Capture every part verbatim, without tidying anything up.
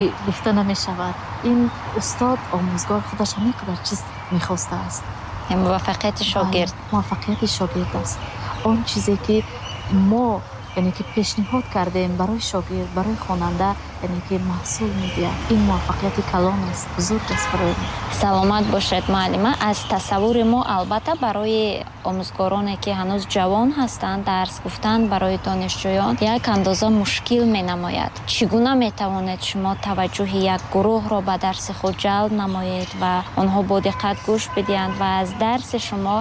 Гуфта намешавад. Ин устод омӯзгор худаш ҳамин қадар чиз мехостааст. Муваффақияти шогирд. Муваффақияти шогирд аст. Он чизе ки мо яъне ки пешниҳод кардем барои шогирд, барои хонанда, яъне ки маҳсул медиҳад. Ин муваффақияти калон аст, бузург аст барои мо. Саломат бошед, муаллима. Аз тасаввури мо албатта барои омӯзгороне ки ҳанӯз ҷавон ҳастанд, дарс гуфтан барои донишҷӯён як андоза мушкил менамояд. Чӣ гуна метавонед шумо таваҷҷӯҳи як гурӯҳро ба дарси худ ҷалб намоед ва онҳо бо диққат гӯш бидиҳанд ва аз дарси шумо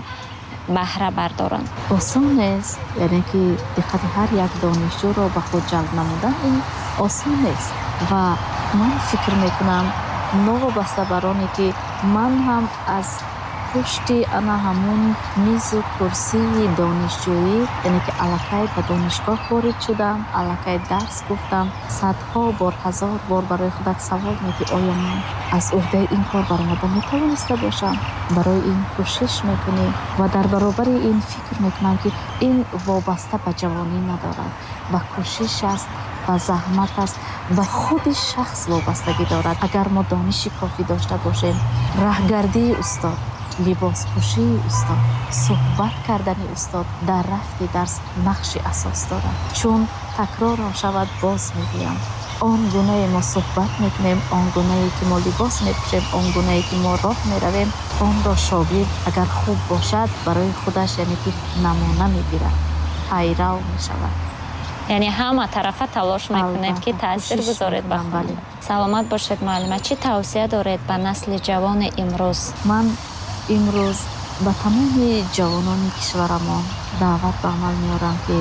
баҳра бардоранд? Осон нест, яъне ки диққати ҳар як донишҷӯро ба худ ҷалб намудан ин осон нест. Ва ман фикр мекунам, новобаста бар оне ки ман ҳам аз пушти ана ҳамун мизу курсии донишҷӯӣ, яъне ки аллакай ба донишгоҳ ворид шудам, аллакай дарс гуфтам, садҳо бор, ҳазор бор барои худат савол медиҳӣ, оё ман аз уҳдаи ин кор баромада метавониста бошам? Барои ин кӯшиш мекунӣ ва дар баробари ин фикр мекунам, ки ин вобаста ба ҷавонӣ надорад, ба кӯшиш аст, ба заҳмат аст, ба худи шахс вобастагӣ дорад. Агар мо дониши кофӣ дошта бошем, раҳгардии устод, либоспӯшии устод, суҳбат кардани устод дар рафти дарс нақши асос дорад. Чун такрорам шавад, боз мегӯям, он гунае мо суҳбат мекунем, он гунае ки мо либос мепӯшем, он гунае ки мо роҳ меравем, онро шогирд агар хуб бошад барои худаш яъне ки намуна мегирад, пайрав мешавад. Яъне ҳама тарафа талош мекунед ки таъсир гузоред ба худ. Саломат бошед, муаллима. Чӣ тавсия доред ба насли ҷавони имрӯз? Ман имрӯз ба тамоми ҷавонони кишварамон даъват ба амал меорам, ки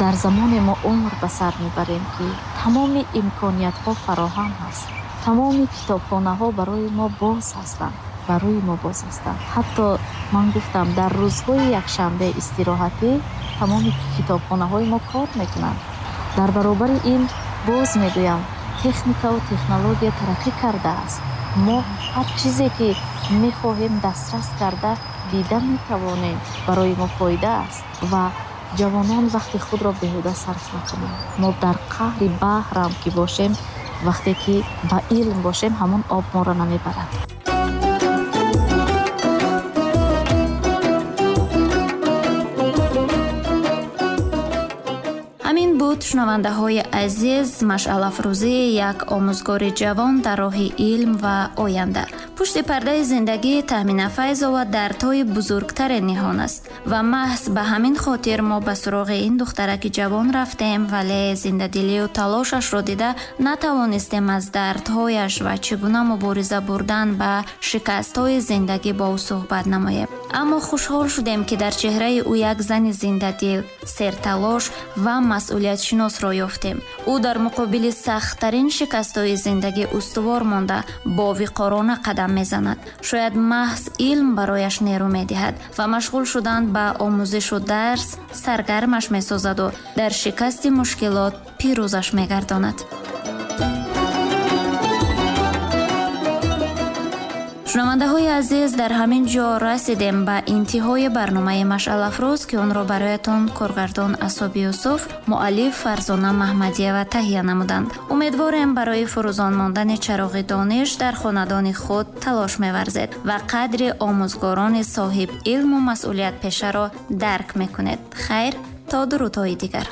дар замоне мо умр ба сар мебарем, ки тамоми имкониятҳо фароҳам ҳаст, тамоми китобхонаҳо барои мо боз ҳастанд, барои мо боз ҳастанд. Ҳатто ман гуфтам, дар рӯзҳои якшанбе истироҳатӣ тамоми китобхонаҳои мо кор мекунанд. Дар баробари ин боз мегӯям, техникаву технология тараққӣ кардааст. Мо ҳар чизе ки мехоҳем дастрас карда дида метавонем, барои мо фоида аст. Ва ҷавонон вақти худро беҳуда сарф накунанд. Мо дар қаъри баҳрам ки бошем, вақте ки ба илм бошем, ҳамон об моро намебарад. Ҳамин буд, шунавандаҳои азиз, машъалафрӯзии як омӯзгори ҷавон дар роҳи илм ва оянда. Пушти пардаи зиндагии Таҳмина Файзова дардҳои бузургтаре ниҳон аст ва маҳз ба ҳамин хотир мо ба суроғи ин духтараки ҷавон рафтем, вале зиндадилию талошашро дида натавонистем аз дардҳояш ва чӣ гуна мубориза бурдан ба шикастҳои зиндагӣ бо ӯ суҳбат намоем. Аммо хушҳол шудем, ки дар чеҳраи ӯ як зани зиндадил, серталош ва масъулиятшиносро ёфтем. Ӯ дар муқобили сахттарин шикастҳои зиндагӣ устувор монда, бо виқорона қадам мезанад. Шояд маҳз илм барояш нерӯ медиҳад ва машғул шудан ба омӯзишу дарс саргармаш месозаду дар шикасти мушкилот пирӯзаш мегардонад. Шунавандаҳои азиз, дар ҳамин ҷо расидем ба интиҳои барномаи Машъалафрӯз, ки онро бароятон коргардон Асоби Юсуф, муаллиф Фарзона Маҳмадиева таҳия намуданд. Умедворем барои фурӯзон мондани чароғи дониш дар хонадони худ талош меварзед ва қадри омӯзгорони соҳиб илму масъулиятпешаро дарк мекунед. Хайр, то дурудҳои дигар.